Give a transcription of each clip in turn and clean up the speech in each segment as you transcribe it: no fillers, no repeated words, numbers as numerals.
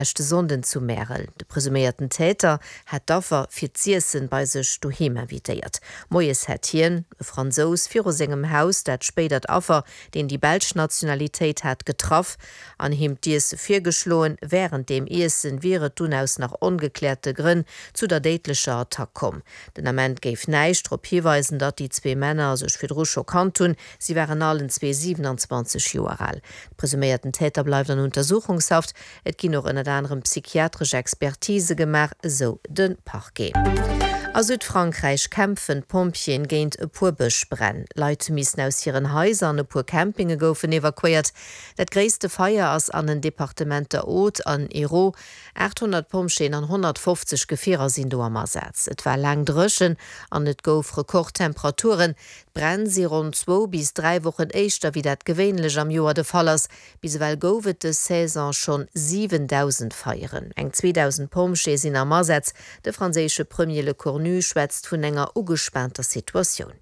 Leschte Sonnden zu Märel. De presuméierten Täter hat d'Affer fir z'iessen bei sech doheem invitéiert. Moies hätt hien, e Fransous, viru sengem Haus dat spéidert Affer, deen déi belsch Nationalitéit hat, getraff an him d'Iesse virgeschloen. Wärend deem Iessen wier et dunn aus nach ongekläerte Grënn zu der déidlecher Attack komm. Den Ament géif näischt drop hiweisen, datt déi zwee Männer sech virdru scho kannt hunn. Si waren allen zwee 27 Joer al. De presuméierten Täter bleift an Untersuchungshaft. Et ginn och ënnert anerem psychiatresch Expertise gemaach, esou de Parquet. A Südfrankräich kämpfen d'Pompjeeën géint e puer Bëschbränn. Leit missen aus hiren Haiser an e puer Campinge goufen evakuéiert. Dat gréisste Feier ass an den Departementer Aude an Hérault. 800 Pompjeeën an 150 Gefierer sinn do am Asaz. Et war laang dréchen an et gouf Rekordtemperaturen. D'Bränn si ronn zwou bis 3 Wochen éischter wéi dat gewéinlech am Joer de Fall ass. Bis ewell gouf et dës Saison schonn 7.000 Feieren. Eng 2.000 Pompjeeë sinn am Asaz. De franséische Premier Lecornu schwätzt vun enger ugespaanter Situatioun.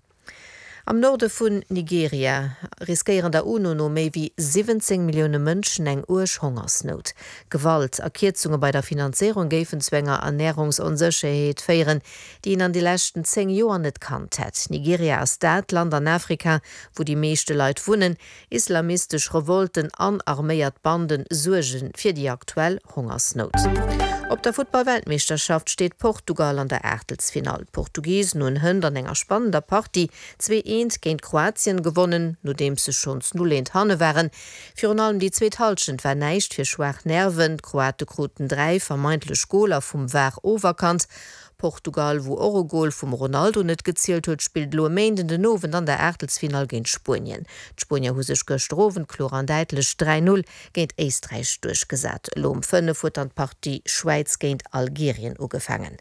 Am Norde vun Nigeria riskéieren der UNO no méi wéi 17 Millioune Mënschen eng uerg Hongersnout. Gewalt a Kierzunge bei der Finanzéierung géifen zu enger Ernärungsonsécherheet féieren, déi een an de leschten 10 Joer net kannt hätt. Nigeria ass dat Land an Afrika, wou déi meeschte Leit wunnen. Islamistesch Revolten an arméiert Bande suerge fir déi aktuell Hongersnout. Op der Futtball-Weltmeeschterschaft steet Portugal an der Aachtelsfinall. D'Portugisen hunn hënt an enger spannender Partie 2 Eent géint Kroatien gewonnen, nodeems se schonns 0 Eent hanne waren. Virun allem déi zweet Hallschent war näischt fir schwaach Nerven. D'Kroate kruten 3 vermeintlech Goler vum var oferkannt. Portugal, wou och e Gol vum Ronaldo net gezielt huet, spillt elo e Méinden den Owend an der Aachtelsfinall géint Spuenien. D'Spuenier hu sech gëschter Owend kloer an däitlech 3, 0 géint Éisträich duerchgesat. Elo um 5 huet dann d'Partie Schwäiz géint Algerien ugefaangen.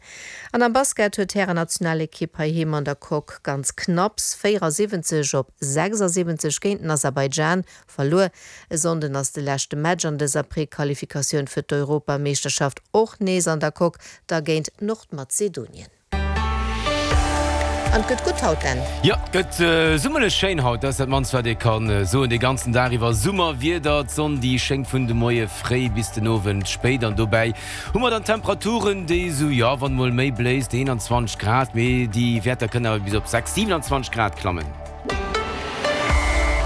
An am Basket huet d'Härennationalekipp heiheem an der Coque ganz knapps 74 op 76 géint den Aserbaidschan Verluer. E Sonnden ass de leschte Match an dëser Prequalifikatioun fir d'Europameeschterschaft och nees an der Coque, da géint Nordmazedonien. An et gëtt gutt haut, Dan. Jo, et gëtt summerlech schéin haut, dat ass dat mannst wat ee ka soen. De ganzen Dag iwwer Summerwieder, d'Sonn déi schéngt vun de Moie fréi bis den Owend spéit an dobäi hu mer dann Temperaturen déi esou, jo wann mol méi bléist, 21 Grad, mee déi Wäerter kënnen awer bis op 6, 27 Grad klammen.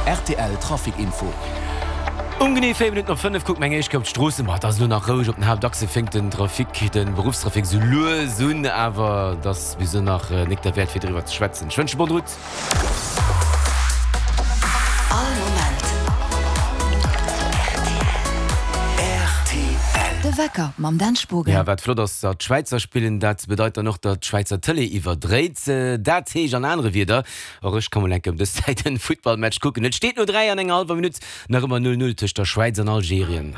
Rtl Trafic Info. Um genee 4 Minutten op 5 kucke mer eng éischt Kéier op d'Stroossen. Ma et ass elo nach roueg op den Haaptachse, fénkt den Trafic, de Beruffstrafic esou lues un, awer et ass bis elo nach nik derwäert fir driwwer ze schwätzen. Ech wënsche bonne route. All Moment rtl. De Wecker mam Dan Spogen. Ja, wat flott ass, datt d'Schwäizer spillen, dat bedeit dann och, datt d'Schwäizer Tëlee iwwerdréit. Dat heescht an anere Wierder, Och ech ka mol enke ëm dës Zäit en Futtballmatch kucken. Et steet no 3 an enger hallwer Minutt nach ëmmer 0, 0 tëscht der Schwäiz an Algerien.